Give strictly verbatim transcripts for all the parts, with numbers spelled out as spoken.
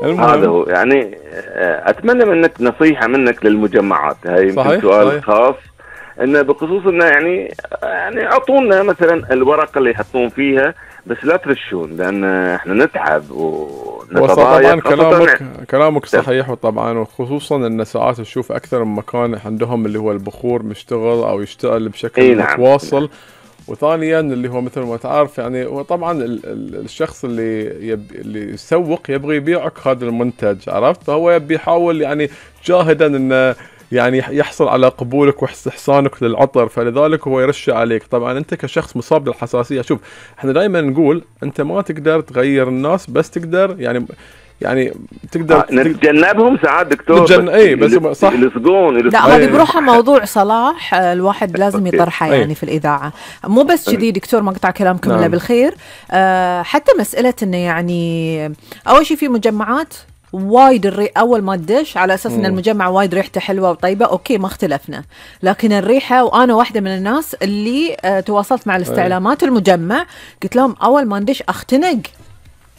هذا المهم. هو يعني. آه، اتمنى منك نصيحه منك للمجمعات، هاي يمكن صحيح سؤال صحيح. خاص، انه بخصوص انه يعني يعني اعطونا مثلا الورقه اللي يحطون فيها، بس لا ترشون، لان احنا نتعب هو طبعا ونتضايق كلامك خاصه. كلامك صحيح، وطبعا وخصوصا ان ساعات تشوف اكثر من مكان عندهم اللي هو البخور مشتغل او يشتغل بشكل اي نعم. متواصل. وثانيا اللي هو مثل ما تعرف يعني، هو طبعا ال ال الشخص اللي يب اللي يسوق يبغى يبيعك هذا المنتج، عرفت؟ فهو يبي يحاول يعني جاهدا انه يعني يحصل على قبولك واستحسانك للعطر، فلذلك هو يرش عليك. طبعا انت كشخص مصاب بالحساسيه، شوف احنا دائما نقول انت ما تقدر تغير الناس، بس تقدر يعني يعني تقدر آه نتجنبهم ساعات دكتور، نتجن... اي بس صح يلصقون. لا هذه بروحها موضوع صلاح الواحد لازم يطرحه يعني أي. في الإذاعة. مو بس كذي دكتور، ما قطع كلامكم نعم. إلا بالخير. آه حتى مسألة إنه يعني أول شيء في مجمعات وايد الري أول ما تدش على أساس إن المجمع وايد ريحته حلوة وطيبة، أوكي ما اختلفنا، لكن الريحة، وأنا واحدة من الناس اللي آه تواصلت مع الاستعلامات المجمع قلت لهم أول ما ندش أختنق،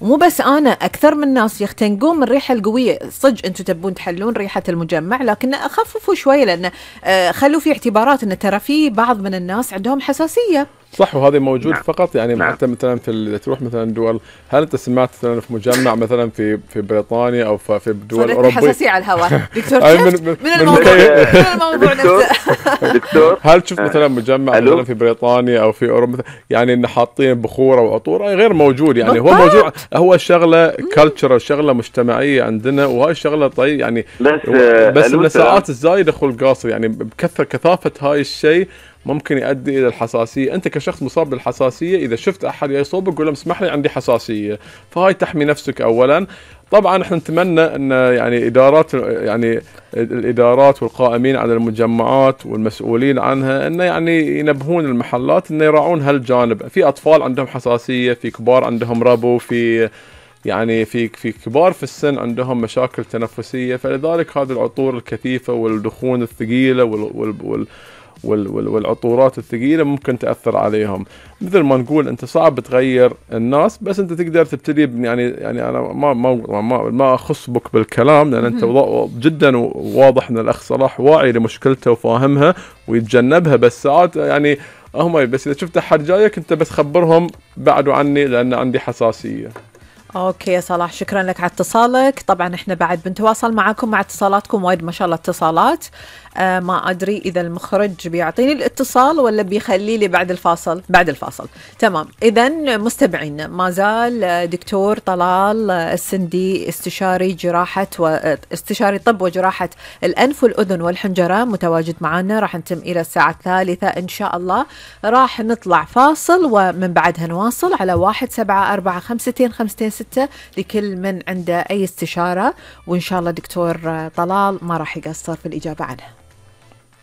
ومو بس أنا، أكثر من الناس يختنقون من الريحة القوية. صدق أنتم تبون تحلون ريحة المجمع، لكن أخففوا شوية، لأن آه خلوا في اعتبارات أن ترى في بعض من الناس عندهم حساسية. صح، وهذا موجود. نعم. فقط يعني نعم. حتى مثلا في ال... تروح مثلا دول، هل انت سمعت مثلا في مجمع مثلا في في بريطانيا او في الدول الاوروبيه حساسيه على الهواء دكتور؟ من, من, من, من الموضوع من الموضوع دكتور نفسه. دكتور هل تشوف مثلا مجمع ألو؟ مثلا في بريطانيا او في اوروبا يعني ان حاطين بخوره وعطور؟ غير موجود يعني. هو بالضبط. موجود، هو شغله كلتشر، شغله مجتمعيه عندنا، وهاي الشغله طيب يعني. بس بس ألو من سلام. الساعات الزايده خلق قاصر يعني، بكثره كثافه هاي الشيء ممكن يؤدي الى الحساسيه. انت كشخص مصاب بالحساسيه اذا شفت احد يصوبك قول له اسمح لي عندي حساسيه، فهاي تحمي نفسك اولا. طبعا احنا نتمنى ان يعني ادارات يعني الادارات والقائمين على المجمعات والمسؤولين عنها انه يعني ينبهون المحلات انه يراعون هالجانب. في اطفال عندهم حساسيه، في كبار عندهم ربو، في يعني في في كبار في السن عندهم مشاكل تنفسيه، فلذلك هذه العطور الكثيفه والدخون الثقيله وال, وال, وال والعطورات الثقيلة ممكن تأثر عليهم. مثل ما نقول أنت صعب تغير الناس، بس أنت تقدر تبتدي يعني يعني أنا ما ما ما, ما أخص بك بالكلام، لأن أنت جدا واضح أن الأخ صلاح واعي لمشكلته وفاهمها ويتجنبها. بس ساعات يعني هم بس إذا شفت أحد جايك أنت بس خبرهم بعدوا عني لأن عندي حساسية. اوكي يا صلاح، شكرا لك على اتصالك. طبعا احنا بعد بنتواصل معاكم مع اتصالاتكم، وايد ما شاء الله اتصالات. آه ما ادري اذا المخرج بيعطيني الاتصال ولا بيخلي لي بعد الفاصل. بعد الفاصل تمام. اذا مستمعين، ما زال دكتور طلال السندي استشاري جراحه واستشاري طب وجراحه الانف والاذن والحنجره متواجد معنا. راح نتم الى الساعه الثالثة ان شاء الله. راح نطلع فاصل ومن بعدها نواصل على واحد سبعة أربعة خمستين خمستين ستة لكل من عنده أي استشارة، وإن شاء الله دكتور طلال ما راح يقصر في الإجابة عنها.